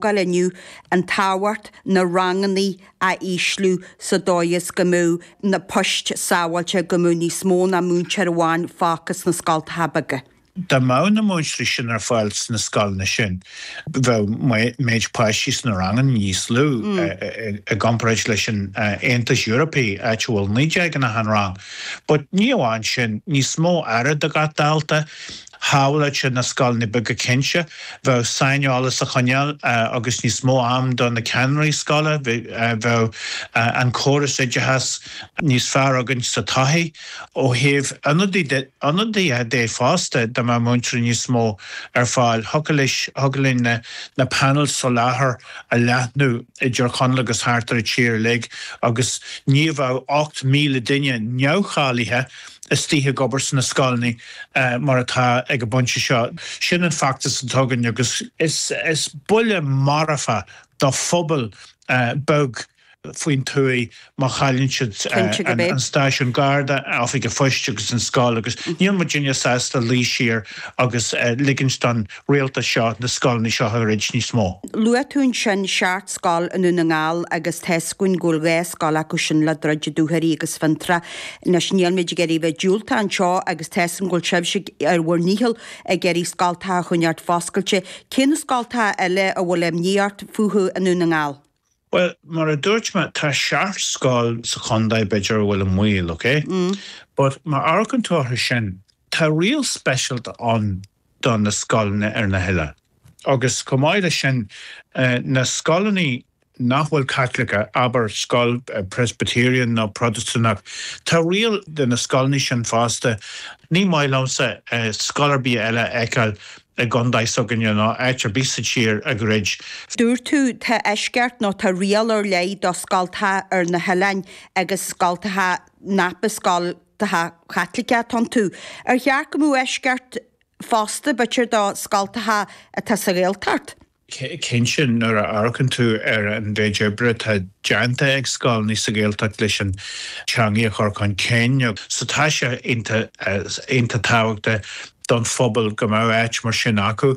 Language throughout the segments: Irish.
Gael inniu an tábhacht na rangannaí a ísliú sa dóigh is go mbeadh na poist sábháilte, go mbeadh níos mó ná múinteoir amháin fágtha sna scoltacha beaga. Dá mbeadh na múinteoirí sin ar fáil sna scoileanna sin, bheadh méid páistí sna ranganna níos lú i gcomparáid leis an Aontas Eorpaí, áit a bhfuil 19 in achan rang. But ní amháin sin, níos mó aire do gach dalta. Shábhálfadh sé na scoileanna beaga cinnte. Bheadh saineolas á choinneáil agus níos mó am do na ceannairí scoile. Bheadh an córas oideachais níos fearr againn sa todhchaí. Ó thaobh ionadaithe de fosta, dá mbeadh múinteoirí níos mó ar fáil, thiocfadh linn na panels soláthair a leathnú i dTír Chonaill agus thart ar an tír uilig agus ní bheadh 8,000 duine neamhcháilithe istigh ag obair sna scoileanna mar atá ag an bpointe seo. Sin an feachtas atá againn agus is buille marfach do phobal beag faoin tuaith má chailleann siad an stáisiún Garda, oifig an phoist agus an scoil agus níl muidinne sásta luí siar agus ligint don rialtas seo na scoileanna seo a throid níos mó. Luaigh tú ansin seacht scoil i nDún na nGall agus tá 'fhios againn go bhfuil 2 scoil acu sin le druid, Dún Doirí agus Fionntrá. Anois níl muid ag iarraidh bheith diúltach anseo agus tá 'fhios agam go bhfuil sibhse ar bhur ndícheall ag iarraidh scoltacha a choinneáilt foscailte. Cé na scoltacha eile a bhfuil imní ort fúthu i nDún na nGall? Bhuel, mar a dúirt mé, tá seacht scoil sa chontae, b'fhéidir, a bhfuil i mbaol, ok? But má amharcann tú orthu sin, tá riail speisialta ann do na scoileanna ar na hoileáin. Agus chomh maith leis sin, na scoileanna nach bhfuil Caitliceach, abair scoil Presbyterian nó Protastúnach, tá riail do na scoileanna sin fosta. Ní maith liomsa scoil ar bith eile a fheiceáil i gcontae s'againne nó áit ar bith sa tír a dhruid. Dúirt tú, tá eisceacht nó tá riail ar leith do scoltacha ar na hoileáin agus scoltacha nach scoltacha Chaitliceacha atá iontu. Ar cheart go mbeadh eisceacht fosta, b'fhéidir, do scoltacha atá sa Ghaeltacht? Cinnte, nuair a amharcann tú ar an mhéid oibre atá déanta ag scoileanna sa Ghaeltacht leis an teangaidh a chur chun cinn, so tá sé iontach tábhachtach don phobal go mbeadh áit mar sin acu.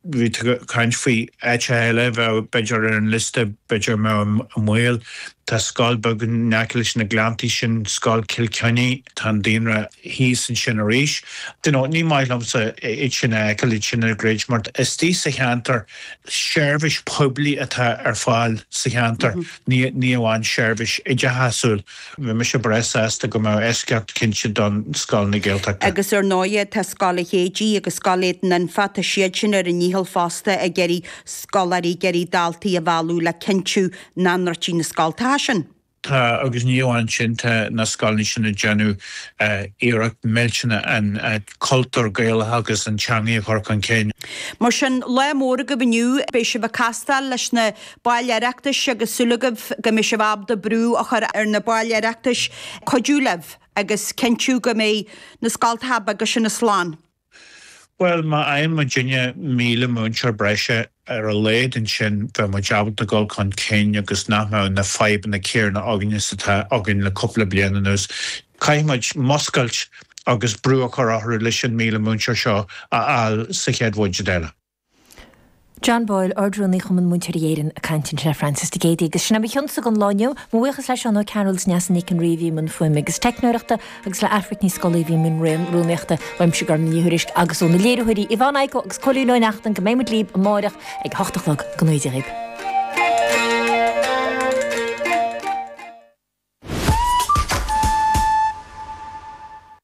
Bhí tú ag caint faoi áiteacha eile a bheadh b'fhéidir ar an liosta, b'fhéidir a mbeadh i mbaol. Tá scoil beag in aice leis na Gleanntaí sin, Scoil Chill Chainnigh, tá an daonra thíos ansin arís. You know, ní maith liomsa iad sin a fheiceáil, iad sin ag druid, mar istigh sa cheantar, seirbhís poiblí atá ar fáil sa cheantar, ní ní amháin seirbhís oideachasúil. Bheadh mise breá sásta go mbeadh eisceacht cinnte don scoileanna Gaeltachta. Agus ar ndóighe tá Scoil an Chéidigh agus Scoil Éadan Anfa, tá siad sin ar a ndícheall fosta ag iarraidh scoláirí, ag iarraidh daltaí a mhealladh le cinntiú nach ndruidfí na scoltacha sin. Tá, agus ní amháin sin, tá na scoileanna sin ag déanamh iarracht millteanach an cultúr Gaelach agus an teangaidh a chur chun cinn. Mar sin, lá mór agaibh inniu. Beidh sibh ag castáil leis na baill Oireachtais agus súil agaibh go mbeidh sibh ábalta brú a chur ar na baill Oireachtais cuidiú libh agus cinntiú go mbeidh na scoltacha beaga sin slán. Bhuel, má fhaigheann muidinne 1,000 múinteoir breise ar a laghad ansin bheadh muid ábalta dul chun cinn agus nach mbeadh na fadhbanna céanna againn is atá againn le cúpla bliain anuas. Caithfidh muid muscailt agus brú a chur orthu leis an 1,000 múinteoir seo a fháil sa chéad bhuiséad eile. John Boyle, Ard-Rúnaí Chumann Múinteoirí Éireann ag caint ansin le Francis de Géidigh. Agus sin é mo chionsa don lá inniu. Mo bhuíochas le Seán Ó Cearúil is Neasa Nic an Rí a bhí i mbun fuaime agus teicneoireachta agus le Aifric Ní Scolaí a bhí i mbun rúnaíochta. Uaimse Gormfhlaith Ní Thuairisg agus ó na léiritheoirí Yvonne Igoe agus Cóilín Ó Neachtain go mbeidh muid libh amáireach ag a hocht a chlog. Go ngnóthaí Dia dhaoibh.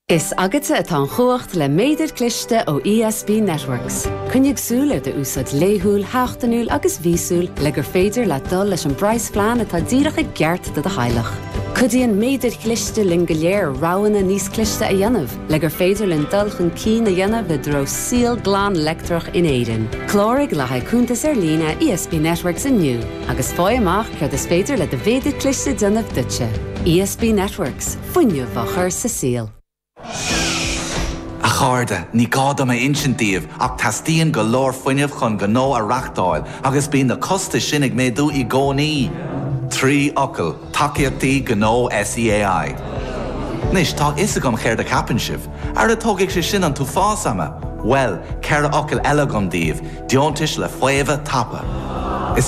Is agatsa atá an chumhacht le méadar cliste ó ESB Networks. Coinnigh súil ar d'úsáid laethúil, sheachtainiúil agus mhíosúil le gur féidir leat dul leis an bpraghasphlean atá díreach i gceart do do theaghlach. Cuidíonn méadair chliste linn go léir roghanna níos cliste a dhéanamh le gur féidir linn dul chun cinn a dhéanamh i dtreo saol glan leictreach in Éirinn. Cláraigh le haghaidh cuntas ar líne ESB Networks inniu. Agus faigh amach céard is féidir le do mhéadar cliste déanamh duitse. ESB Networks, fuinneamh á chur sa saol. A chairde, ní gá dom a insint daoibh ach teastaíonn go leor fuinnimh chun gnó a reachtáil agus bíonn na costais sin ag méadú i gcónaí. 3 fhocal, tacaíochtaí gnó SEAI. Anois, tá a fhios agam céard a cheapann sibh. Ara tógfaidh sé sin an t-uafás ama! Bhuel, 4 fhocal eile agam daoibh, deontais le faomhadh tapa.